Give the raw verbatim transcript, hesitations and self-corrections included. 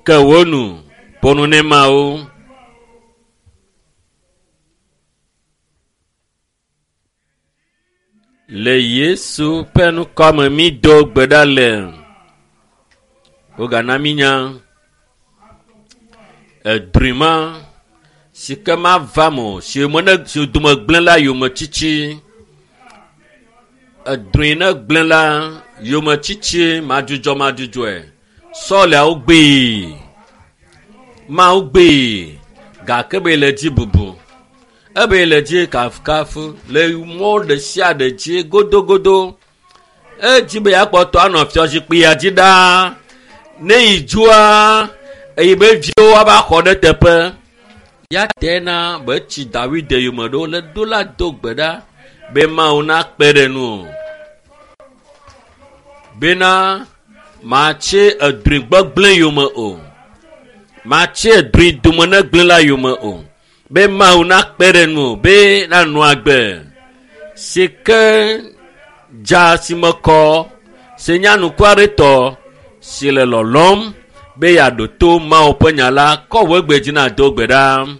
Ke wo nu ƒo nu ne Mawu. Le Yesu ƒe ŋkɔme mi do gbe ɖa le. Wogana mi nya edri ma si ke mava me o, si me ne si dome gblẽ la yometsitsi. Edri ne gblẽ la yometsitsi madzudzɔ madzudzɔe. Sɔliawo gbee. Mawu gbee gake be le dzi bubu. Ebe le dzi kafukafu le mɔ ɖe sia ɖe dzi godogodo. Edzi be yeakpɔtɔ anɔ fiazikpuia dzi ɖaa. Ne yi dzoa, eyi be viwo ava xɔ ɖe teƒe. Ya te na be tsi Dawid yome ɖo le ɖo la do gbe ɖa be Mawu nakpe ɖe nu o. Bena matsi edri gbegblẽ yome o. Matsi edri dome ne gblẽ la yome o. Be Mawu nakpe ɖe nu o be nanɔ agbe si ke dza si me kɔ si nye anukuaretɔ si le lɔlɔm be yeaɖo to Mawu ƒe nya la kɔ wò egbe dzi na do gbe ɖa.